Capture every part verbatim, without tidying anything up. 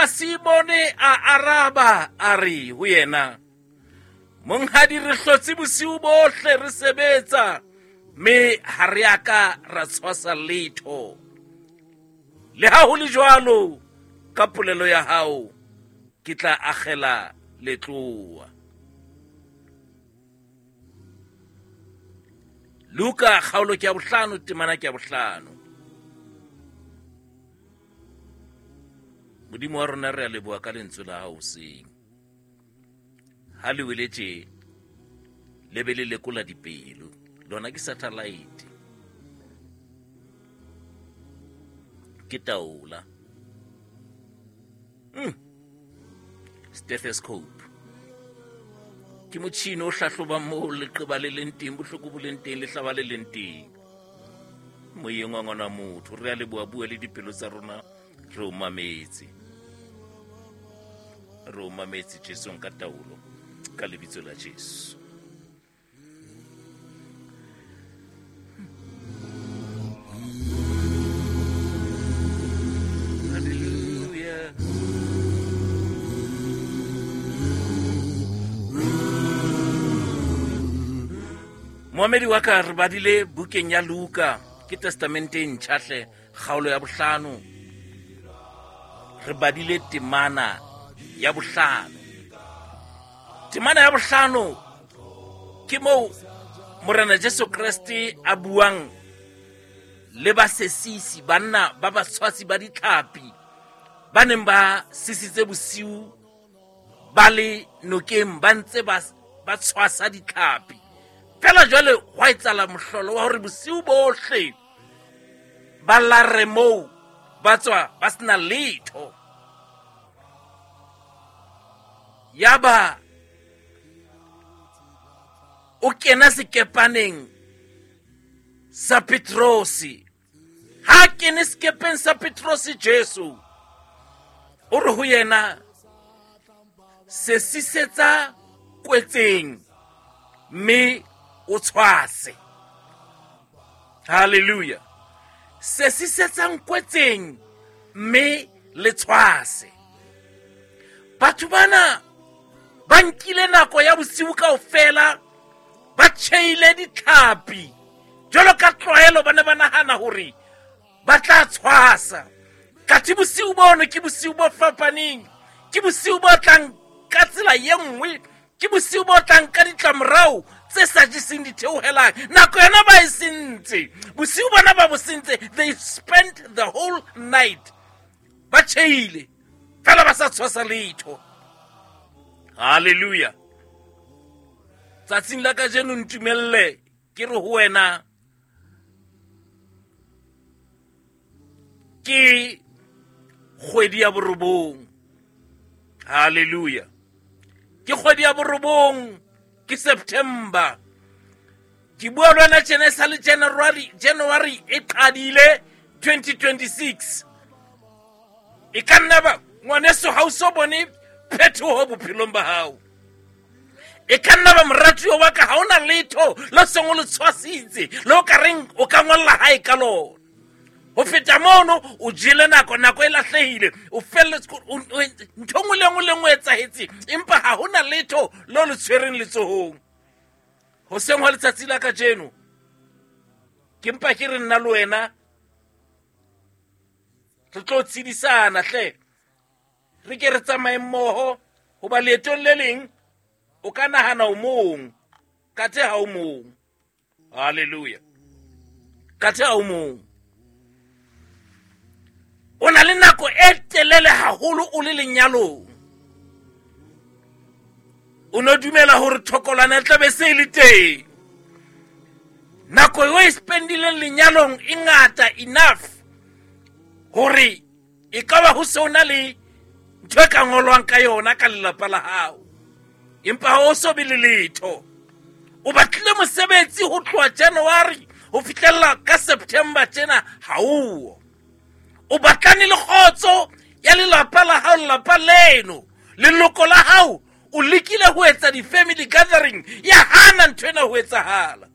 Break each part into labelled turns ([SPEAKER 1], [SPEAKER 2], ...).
[SPEAKER 1] Empa Simone a araba a re ho yena, Monghadi, re hlotse bosiu bohle re sebetsa, mme ha re a ka ra tshwasa letho. Le ha ho le jwalo, ka polelo ya hao ke tla akgela letlowa. Luka kgaolo ke ya bohlano, temana ke ya bohlano. Modimo wa rona, re a leboha ka lentswe la hao hoseng. Ha le wele tje, le be le lekola dipelo. Lona ke satellite. Ke taola. Mm. Stethoscope. Ke motjhini o hlahlobang moo leqeba le leng teng, bohloko bo leng teng, lehlaba le leng teng. Moyeng wa ngwana motho, re a leboha, bua le dipelo tsa rona, re o mametse. Re o mametse Jesu ka taolo, ka lebitso la Jesu. Hallelujah. Moamedi wa ka, re badile bukeng ya Luka, ke testamente e ntjha hle, kgaolo ya bohlano. Re badile temana ya bohlano. Temana ya bohlano ke moo Morena Jesu Kreste a buang le basesisi, banna ba batshwasi ba ditlhapi ba neng ba sisitse bosiu ba le nokeng, ba ntse ba ba tshwasa ditlhapi. Fela jwale hwa etsahala mohlolo wa hore bosiu bohle ba lare moo, ba tswa ba sena letho. Yaba o kena sekepaneng sa Petrosi. Ha kene sekepeng sa Petrosi, Jesu o re ho yena, sesisetsa kwetseng mme o tshwase. Hallelujah. Sesisetsang kwetseng mme le tshwase. Batho bana ba nkile nako ya bosiu kaofela, ba tjheile ditlhapi. Jwalo ka tlwaelo ba ne ba nahana hore ba tla tshwasa. Kathe bosiu bono ke bosiu bo fapaneng, ke bosiu bo tlang ka tsela ye nngwe, ke bosiu bo tlang ka ditlamorao tse sa jeseng ditheohelang. Nako yona ba e sentse, bosiu bona ba bo sentse. They spent the whole night ba tjheile fela ba sa tshwasa letho. Hallelujah. Tsatsing la kajeno ntumelle ke re ho wena, ke kgwedi ya borobong. Hallelujah. Ke kgwedi ya borobong, ke September. Ke bua le wena tjena e sa le January, January e qadile twenty twenty-six. E ka nna ba ngwaneso ha o so bone phetoho bophelong ba hao. E ka nna ba moratuwa wa ka ha ona letho le seng o le tshwasitse, le o ka reng o ka ngolla hae ka lona. Ho feta mono o jele nako, nako e lahlehile, o felletse, ntho nngwe le nngwe le nngwe e etsahetse, empa ha hona letho le le tshwereng letsohong. Hoseng hwa letsatsi la kajeno, ke mpa ke re nna le wena re tlo tshedisana hle, re ke re tsamaye mmoho, hoba leetong le leng o ka nahana o mong, kathe ha o mong. Hallelujah. Kathe ha o mong. O na le nako e telele haholo o le lenyalong. O no dumela hore thokolwana e tla be se le teng. Nako eo e spendileng lenyalong e ngata enough hore e ka ba ho se o na le ntho e ka ngolwang ka yona ka lelapa la hao. Empa ha o so be le letho. O batlile mosebetsi ho tloha January ho fihlella ka September tjena ha o. O batlane le kgotso ya lelapa la hao, lelapa leno, leloko la hao. O lekile ho etsa di-family gathering, ya hana ntho ena ho etsahala.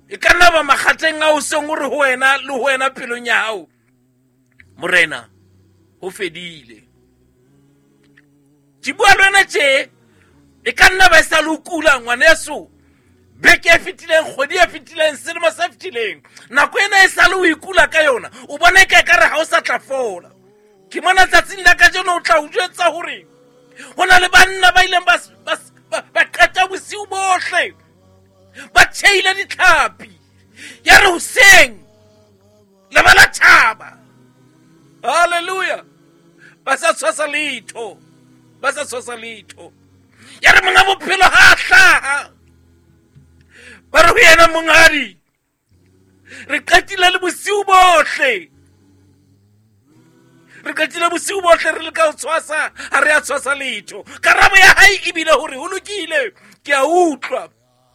[SPEAKER 1] E ka nna ba makgatheng a o seng o re ho wena le ho wena pelong ya hao, Morena, ho fedile. Ke bua le wena tje, e ka nna ba e sa le o kula ngwaneso. Beke e fetileng, kgwedi e fetileng, selemo se fetileng, nako ena e sa le o ikula ka yona, o bona e ka ekare ha o sa tla fola. Ke mona tsatsing la kajeno o tla o jwetsa hore ho na le banna ba ileng ba ba ba qeta bosiu bohle ba tjheile ditlhapi, ya re hoseng le ba la tjhaba. Hallelujah. Ba sa tshwasa letho, ba sa tshwasa letho. Ya re monga bophelo ha a hlaha, ba re ho yena, monghadi, re qetile le bosiu bohle, re qetile bosiu bohle re leka ho tshwasa, ha re a tshwasa letho. Karabo ya hae ebile hore ho lokile, ke a utlwa.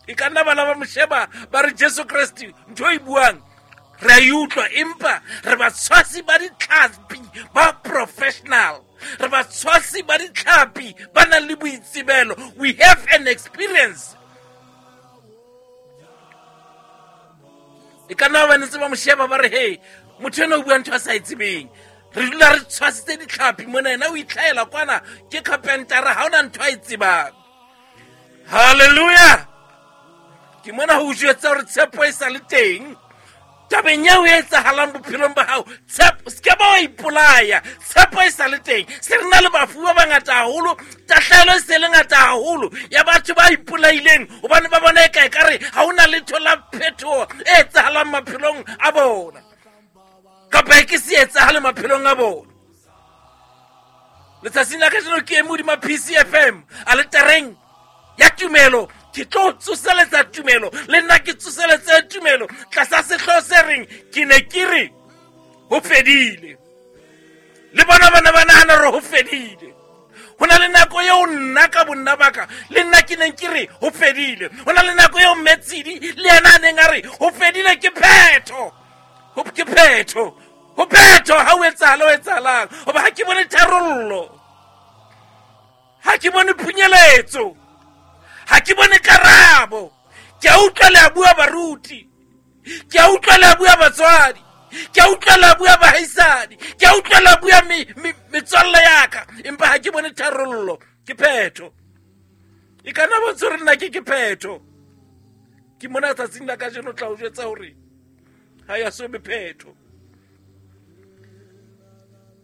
[SPEAKER 1] E ka nna bana ba mo sheba ba re Jesu Kreste ntho e buang re a e utlwa, empa re batshwasi ba ditlhapi ba professional, re batshwasi ba ditlhapi ba nang le boitsebelo. We have an experience. E ka nna ba ntse ba mo sheba ba re, hey, motho ena o bua ntho a sa e tsebeng, re dula re tshwasitse ditlhapi mona, yena o itlhaela kwana ke carpentera, ha hona ntho a e tsebang. Hallelujah. Ke mona ho jwetsa hore tshepo e sa le teng tabeng eo e etsahalang bophelong ba hao. Tshepo, se ke ba wa ipolaya, tshepo e sa le teng. Se re na le bafu ba bangata haholo, tahlehelo e se le ngata haholo ya batho ba ipolaileng hobane ba bona eka ekare ha hona letho la phetoho e etsahalang maphelong a bona, kapa e ke se etsahale maphelong a bona. Letsatsing la kajeno ke eme hodima P C F M aletareng ya tumelo. Ke tlo tsoseletsa tumelo, le nna ke tsoseletse tumelo tlasa sehlooho se reng ke ne ke re ho fedile. Le bona bana ba nahana hore ho fedile. Ho na le nako eo nna ka bonna ba ka le nna ke neng ke re ho fedile. Ho na le nako eo Mmetsidi le yena a neng a re ho fedile, ke phetho, ho ke phetho, ho phetho ha o etsahala ho etsahalang, hoba ha ke bone tharollo, ha ke bone phunyeletso, ha ke bone karabo. Ke a utlwa le a bua baruti, ke a utlwa le a bua batswadi, ke a utlwa le a bua bahaisadi, ke a utlwa le a bua metswalle ya ka, empa ha ke bone tharollo. Ke phetho. E ka nna bontsha hore nna ke ke phetho. Ke mona tsatsing la kajeno tla o jwetsa hore ha ya so be phetho.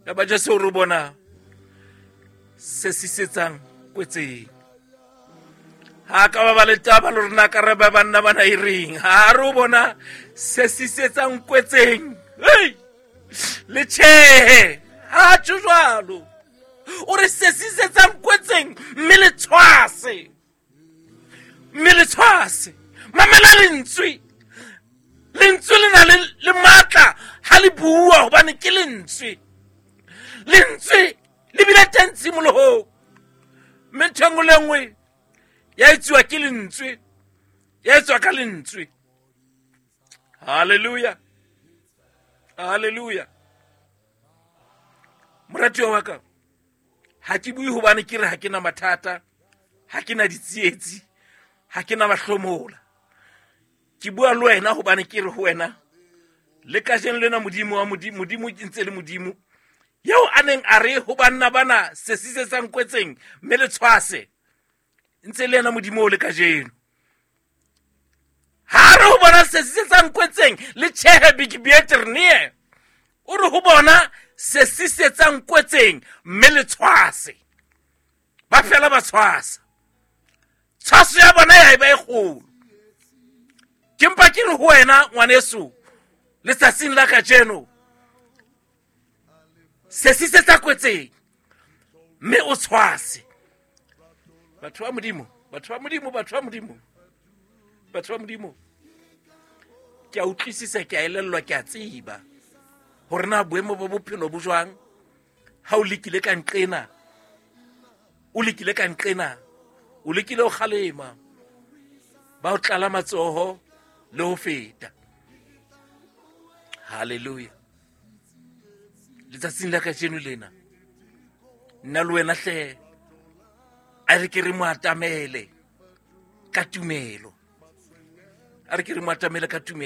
[SPEAKER 1] Ya ba Jesu o re bona se sisetsang kwetseng. Ha ka ba ba le taba le rona ka re ba banna bana e reng, ha re o bona se sisetsang kwetseng, hey, le tjhehe, ha tjho jwalo. O re se sisetsang kwetseng mme le tshwase, mme le tshwase. Mamela lentswe, lentswe le na le le matla ha le bua, hobane ke lentswe. Lentswe le bile teng tshimolohong, mme ntho e nngwe le nngwe ya etsuwa ke lentswe, ya etswa ka lentswe. Hallelujah, hallelujah. Moratuwa wa ka, ha ke bue hobane ke re ha ke na mathata, ha ke na ditsietsi, ha ke na mahlomola. Ke bua le wena hobane ke re ho wena, le kajeno lena Modimo wa Modimo, Modimo ke ntse le Modimo eo a neng a re ho banna bana se sisetsang kwetseng mme le tshwase, ntse le yena Modimo o le kajeno. Ha re ho bona se sisetsang kwetseng le tjhehe bikibieternie, o re ho bona se sisetsang kwetseng mme le tshwase. Ba fela ba tshwasa, tshwaso ya bona ya eba e kgolo. Ke mpa ke re ho wena ngwaneso letsatsing la kajeno, se sisetsa kwetseng mme o tshwase. Batho ba Modimo, batho ba Modimo, batho ba Modimo, batho ba Modimo, ke a utlwisisa, ke a elellwa, ke a tseba hore na boemo ba bophelo bo jwang. Ha o lekile ka nqena, o lekile ka nqena, o lekile ho kgalema, ba o tlala matsoho le ho feta. Hallelujah. Letsatsing la kajeno lena, nna le wena hle a re ke re mo atamele ka tumelo, a re ke re mo atamele ka tumelo.